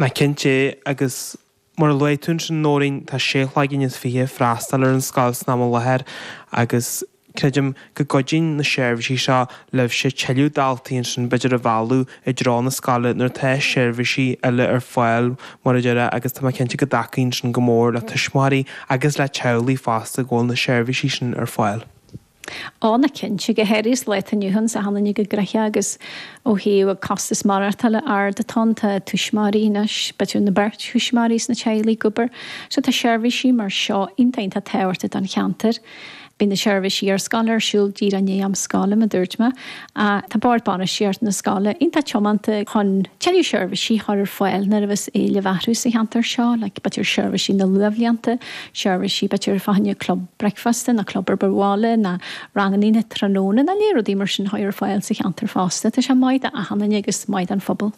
Ná cinnte agus mar a luaigh tú ansin Nóirín, tá sé chloigeann is fiche ag freastal ar an scoil san am i láthair agus creidim go gcuidíonn na seirbhísí seo libhse tuilleadh daltaí ansin b'fhéidir a mhealladh i dtreo na scoile nuair atá seirbhísí eile ar fáil mar a déarfá agus tá mé cinnte go dtacaíonn sin go mór le tuismitheoirí agus le teaghlaigh fosta go bhfuil na seirbhísí sin ar fáil. Á ná cinnte, go háirithe sa lá atá inniu ann, 's achan duine go gnoitheach agus ó thaobh costas maireachtála ard atá ann, tá tuismitheoirí anois, b'fhéidir na beirt thuismitheoirí sna teaghlaigh ag obair, so tá seirbhísí mar seo iontach iontach tábhachtach don cheantar. Bíonn na seirbhísí ar scoil ar siúl díreach i ndiaidh am scoile, mar a dúirt mé. Tá bord bainistíochta na scoile iontach tiomanta chun tuilleadh seirbhísí a chur ar fáil nuair a bheas éileamh orthu sa cheantar seo, like b'fhéidir seirbhísí na luathbhlianta, seirbhísí b'fhéidir fá choinne club bricfeasta nó club ar bith bhaile nó rangannaí na tráthnóna nó leithéid rudaí mar sin a chur ar fáil sa cheantar fosta. Tá sé maith d'achan duine agus maith don phobal.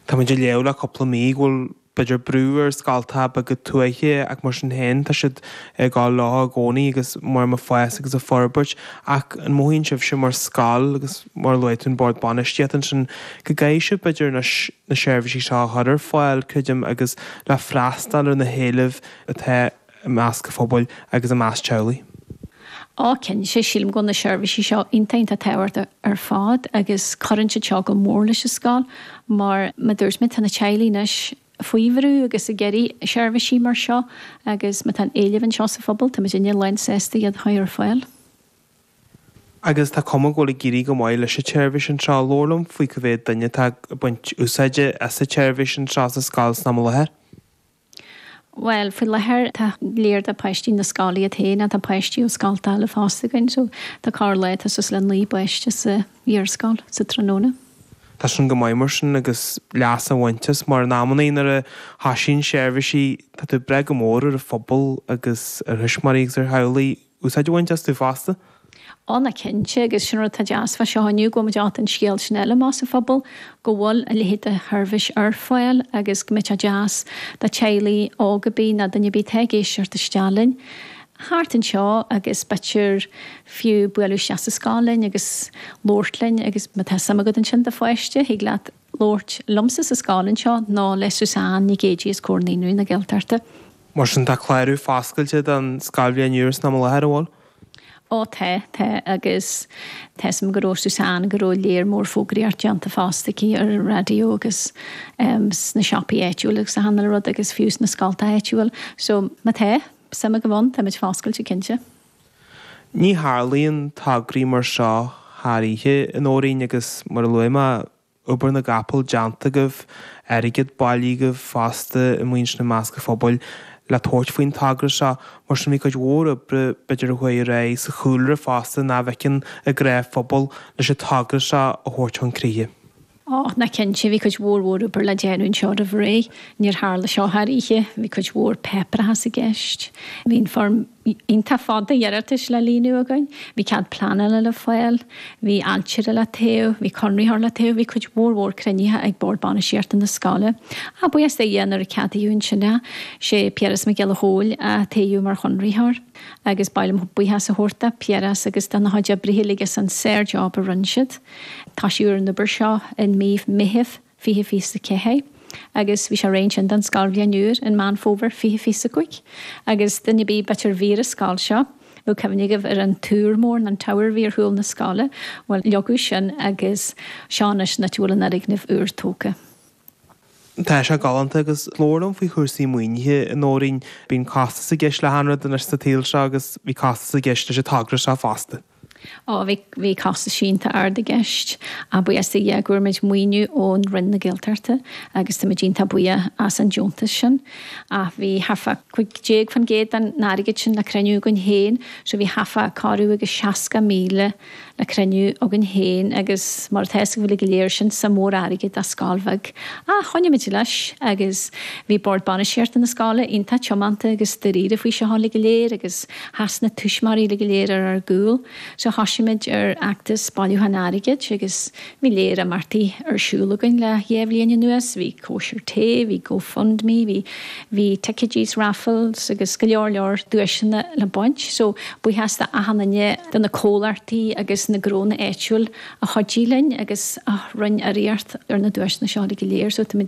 Tá muid ag léamh le cúpla mí go bhfuil b'fhéidir brú ar scoltacha beaga tuaithe ach mar sin féin tá siad ag dul leo i gcónaí agus mar ag fás agus ag forbairt ach an mothaíonn sibhse mar scoil agus mar a luaigh tú an bord bainistíochta ansin go gcaithfidh sibh b'fhéidir anois na seirbhísí seo a chur ar fáil creidim agus le freastal ar na héilimh atá i measc an phobail agus i measc teaghlaigh. Á cinnte, sílim go bhfuil na seirbhísí seo iontach iontach tábhachtach ar fad agus cuireann siad seo go mór leis an scoil mar mar a dúirt mé tá na teaghlaigh anois faoi bhrú agus ag iarraidh seirbhísí mar seo agus má tá an éileamh anseo sa phobal tá muidinne lán sásta iad a chur ar fáil. Agus tá cuma go bhfuil ag éirí go maith leis an tseirbhís anseo. Labhair liom faoi cá mhéad duine atá ag baint úsáide as an tseirbhís anseo sa scoil san am i láthair. Bhuel, faoi láthair tá léar de páistí na scoile iad féin ach tá páistí ó scolta eile fosta againn so tá corr lá tá suas le 9 bpáiste sa iarscoil sa tráthnóna. Tá sin go maith mar sin agus leas á bhaint as mar in amannaí nuair a thoisíonn seirbhísí tá tú ag brath go mór ar an phobal agus ar thuismitheoirí agus ar theaghlaigh úsáid a bhaint astu fosta. Á ná cinnte, agus sin rud atá deas fá seo inniu, go bhfuil muid ábalta an scéal sin a fháil amach sa phobal, go bhfuil a leithéid de sheirbhís ar fáil agus go mbeadh sé deas do teaghlaigh óga ar bith nó duine ar bith atá ag éisteacht isteach linn thart anseo agus b'fhéidir fiú bualadh isteach sa scoil linn agus labhairt linn agus má tá suim agat ansin do pháiste, thig leat labhairt liomsa sa scoil anseo nó le Suzanne Nic Géidigh as Comhar Naíonraí na Gaeltachta. Mar sin tá clárú foscailte don scoilbhliain úr san am i láthair, an bhfuil? Ó tá, tá agus tá 'fhios a'm go raibh Suzanne, go raibh léar mór fógraíocht déanta fosta aici ar an raidió agus sna siopaí áitiúil agus achan uile rud agus fiú sna scolta áitiúil. So má tá suim agaibh ann, táimid foscailte cinnte. Ní tharlaíonn tograí mar seo thar oíche, a Nóirín, agus mar a luaigh mé, obair na gcapall déanta agaibh, airgead bailithe agaibh fosta amuigh ansin i measc an phobail le tabhairt faoin togra seo. Mar sin bhí cuid mhór oibre b'fhéidir a chuaigh ar aghaidh sa chúlra fosta nach bhfeiceann an gnáthphobal leis an togra seo a thabhairt chun críche. Ó, ná cinnte, bhí cuid mhór mhór obair le déanamh anseo roimh ré. Níor tharla seo thar oíche. Bhí cuid mhór páipéarachas i gceist. Bhí an foirm iontach fada iarratais le líonadh againn. Bhí cead pleanála le fáil, bhí ailtire le toghadh, bhí conraitheoir le toghadh, bhí cuid mhór mhór cruinnithe ag Bord Bainistíochta na scoile. Ach buíochas do Dhia nuair a ceadaíodh ansin é, sé Piaras Mac Giolla Chóill a toghadh mar chonraitheoir agus ba mhaith liom buíochas a thabhairt do Piaras agus dona chuid oibrithe uilig as an sár-job a rinne siad. Tosaíodh ar an obair seo in mí Meithimh 2024 agus bhí sé réidh ansin don scoilbhliain úr in Meán Fómhair 2025 agus duine ar bith b'fhéidir a bhí ar an scoil seo, bheadh cuimhne agaibh ar an túr mór, an tower a bhí ar chúl na scoile, bhuel leagadh sin agus seo anois an áit a bhfuil an fhoirgneamh úr tógtha. Tá sé galánta agus labhair liom faoi chúrsaí maoinithe, a Nóirín. Bíonn costas i gceist le achan rud anois sa tsaol seo agus bhí costas i gceist leis an togra seo fosta. Ó, bhí, bhí costas iontach ard i gceist. Ach buíochas do Dhia go bhfuair muid maoiniú ón Roinn na Gaeltachta agus tá muid iontach buíoch as an deontas sin. Ach bhí thart fá 15% den airgead sin le cruinniú againn féin, so bhí thart fá corradh agus 60,000 le cruinniú againn féin agus mar atá 'fhios agaibh uilig go léir, sin suim mhór airgid do scoil bheag. Ach choinnigh muid leis agus bhí Bord Bainistíochta na scoile iontach tiomanta agus dáiríre faoi seo uilig go léir agus Sheas na tuismitheoirí uilig go léir ar ár gcúl so thosaigh muid ar fheachtas bailiúcháin airgid agus bhí léar imeachtaí ar siúl againn le dhá bhliain anuas, bhí cóisir tae, bhí GoFundMe, bhí bhí ticéidí raffles agus go leor leor duaiseanna le baint. So buíochas do achan duine de na comhlachtaí agus na gnónna áitiúil a chuidigh linn agus a rinne urraíocht ar na duaiseanna seo uilig go léir so táimid.